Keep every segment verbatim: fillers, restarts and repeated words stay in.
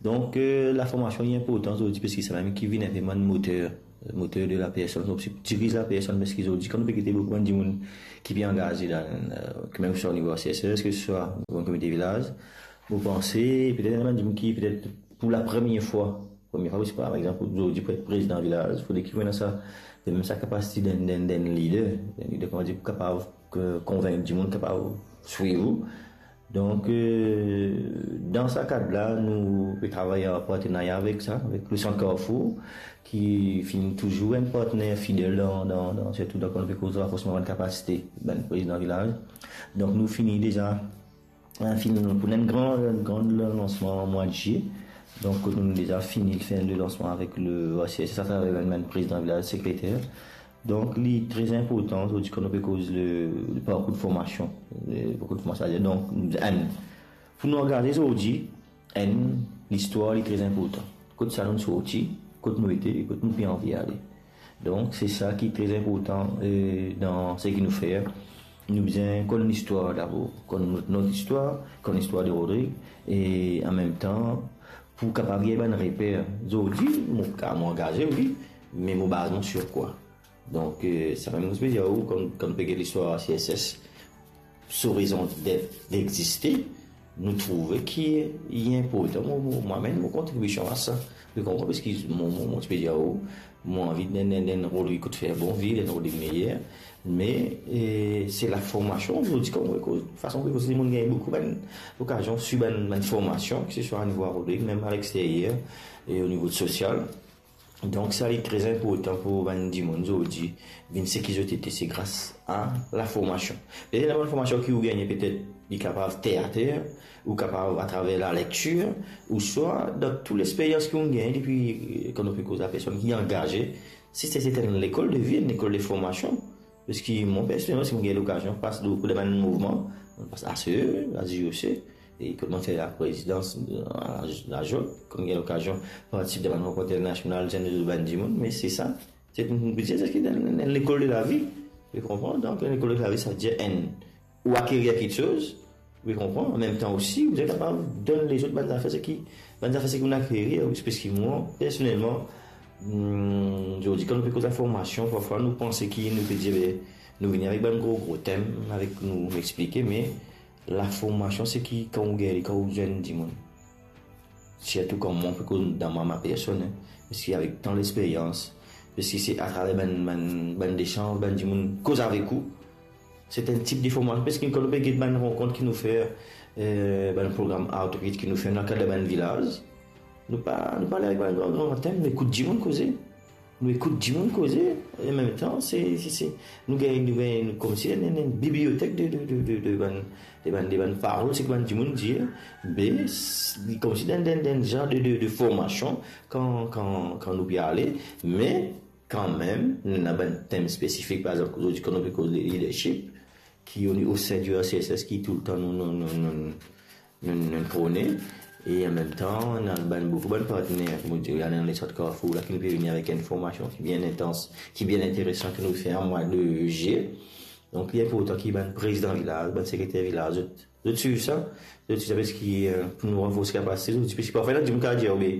Donk, eh, laformasion li inportan zordi, parski samem ki vinn inpe bann moter, moter de lapersonn, donk, se diriz lapersonn, parski zordi, kan nou pe gete boukou bann dimoun ki pe angaze dan, eh, ki mem swa o nivo A C S S, ki swa o nivo komite vilaz, mo panse, petet ena bann dimoun ki, petet pou lapremier fwa, premie fwa, parski, par exanp, zordi pou et prezidan vilaz, fode ki ou ena sa, mem sa kapasite dan, dan, dan lider, dan lider, kouma dir, pou kapav, eh, konvink dimoun, kapav swiv ou. Donk, eh, dan sa kad la, nou pe travay an partenarya avek sa, avek le Sant Carrefour, ki finn touzour enn partner fidel dan, dan, dan, sirtou dan kan nou pe koz ranforsman bann kapasite bann prezidan vilaz. Donk, nou fini deza, eh, finn pou enn gran, enn gran lansman mwa de zilie. Donk, nou deza fini fer le lansman avek le A C S S atraver bann, bann prezidan vilaz, sekreter. Donk, li tre inportan, zordi, kan nou pe koz le, le parkour de formasion, le parkour de formasion, donk, enn, pou nou angaze zordi, enn, listwar, li tre inportan. Kot sa nou sorti, kot nou ete, kot nou pe anvi ale. Donk, se sa ki tre inportan, eh, dan seki nou fer. Nou bizin konn listwar dabor, konn not, not istwar, konn listwar de Rodrig, e an mem tan, pou kapav gagn bann reper. Zordi, mo, mo angaze, wi, me mo baz mwa sir kwa? Donk, eh, samem mo ti pe dir ou, kan, kan nou pe gete listwar A C S S, so rezon det, degziste, nou trouve ki li inportan. Mo, mo, mwa mem mo kontribision a sa. Ou konpran? Parski mo, mo, mo ti pe dir ou, mo anvi donn, donn, donn Rodrig kout fer, bon, vinn donn Rodrig meyer. Me, eh, se laformasion, zordi, kan mo koz, fason mo koz, dimoun gagn boukou bann lokazion swiv bann, bann formasion, ki se swa o nivo a Rodrig, mem a leksteryer, e o nivo sosial. Donk, sa li tre inportan pou bann dimoun zordi vinn seki zot ete, se gras a laformasion. Petet ena bann formasion ki ou gagne, petet li kapav terre à terre, ou kapav atraver lalektir, ou swa dan tou lexperyans ki ou gagne depi, eh, kan nou pe koz a personn ki angaze, se, se, se enn lekol de vi, enn lekol de formasion. Parski mwa, personelman, si mo gagn lokazion pas dan boukou de bann mouvman, mo pas A C E, la J O C, e kot mo fer laprezidans, la, la J O C, kan mo gagn lokazion partisip dan bann rankont internasional, zenn bann dimoun, me se sa, se, mo pe dir, se enn, enn lekol de lavi, ou konpran? Donk, enn lekol de lavi, sa ve dir enn, ou akerir kiksoz, ou konpran? An mem tan osi, ou kapav donn lezot bann zafer seki, bann zafer seki ou akerir, wi, parski mwa, personelman, hmm, zordi, kan nou pe koz laformasion, parfwa nou panse ki nou pe dir, be, nou vini avek bann gro, gro tem avek nou, nou explike, me laformasion, seki kan ou gagn li, kan ou zenn dimoun, sirtou kan mwa, pe koz dan mwa, mwa personn, en, parski avek tan lexperyans, parski se atraver bann, bann, bann lesanz, bann dimoun koz avek ou, se enn tip de formasion, parski kan nou pe get bann rankont ki nou fer, eh, bann program outreach ki nou fer dan kad bann vilaz, nou pa, nou pa ale avek bann gran, gran tem, nou ekout dimoun koze. Nou ekout dimoun koze, e an mem tan, se, se, se, nou gagn, nou gagn, nou koumsi enn, enn, enn bibliotek de, de, de, de, de bann, de bann, de bann parol, seki bann dimoun dir, be, s-, li koumsi dan, dan, dan enn zar de, de, de formasion, kan, kan, kan nou pe ale, me kanmem, nou ena bann tem spesifik, par exanp, zordi, kan nou pe koz leadership, ki o, o sein du R C S S, ki toultan nou, nou, nou, nou, nou, nou prone, e an mem tan, nou ena bann, boukou bann partner, kouma dir, ena le Sant Carrefour la, ki nou pe vini avek enn formasion ki bien intans, ki bien interesan, ki nou fer an mwa de zilie. Donk, li inportan ki bann prezidan vilaz, bann sekreter vilaz, zot, zot swiv sa, zot swiv sa, parski, eh, pou nou ranforse kapasite, zot, parski parfwa, ena dimoun ki dir, be,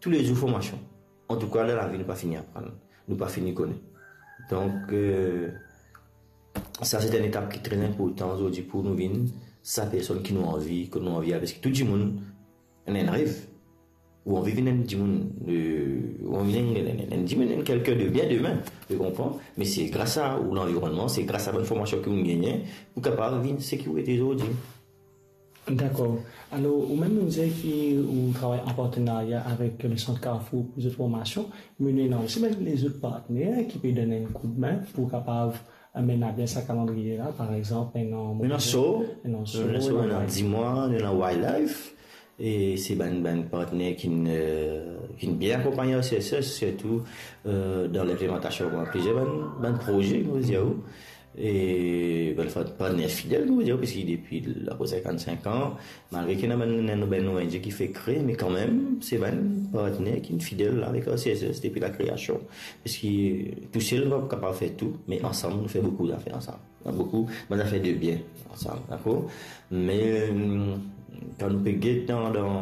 toulezour formasion. Antouka, dan lavi, nou pa fini aprann, nou pa fini kone. Donk, eh, sa, se enn etap ki tre inportan zordi pou nou vinn sa personn ki nou anvi, ki nou anvi ale, parski tou dimoun ena enn rev. Ou anvi vinn enn dimoun, eh, ou anvi vinn enn, enn, enn, enn dimoun, enn kelkenn de bien demin, ou konpran? Me se gras a ou lanvironnman, se gras a bann formasion ki ou gagne, pou kapav vinn seki ou ete zordi. Dakor. Alor, ou mem, ou dir ki ou travay an partenarya avek le Sant Carrefour pou zot formasion, me nou ena osi bann lezot partner ki pe donn enn koudmin pou kapav, eh, mennen abien sa kalandriye la, par exanp, ena, ena So, ena So, ena So, ena ena Wildlife. Dimwa, ena Wildlife, e se bann, bann partner ki, eh, ki bien akonpagn R C S S, sirtou, eh, dan linplimantasion de plizier bann, bann proze, mo dir ou. E bann fa-, partner fidel, nou dir, parski depi lapre sinkant-sink an, malgre ki ena bann, bann, bann O N G ki fer kre, me kanmem, se bann partner ki fidel avek R C S S depi lakreasion. Parski tousel, nou pa kapav fer tou, me ansam, nou fer boukou zafer ansam. Boukou, bann zafer de bien ansam, dakor? Me, kan nou pe get dan, dan,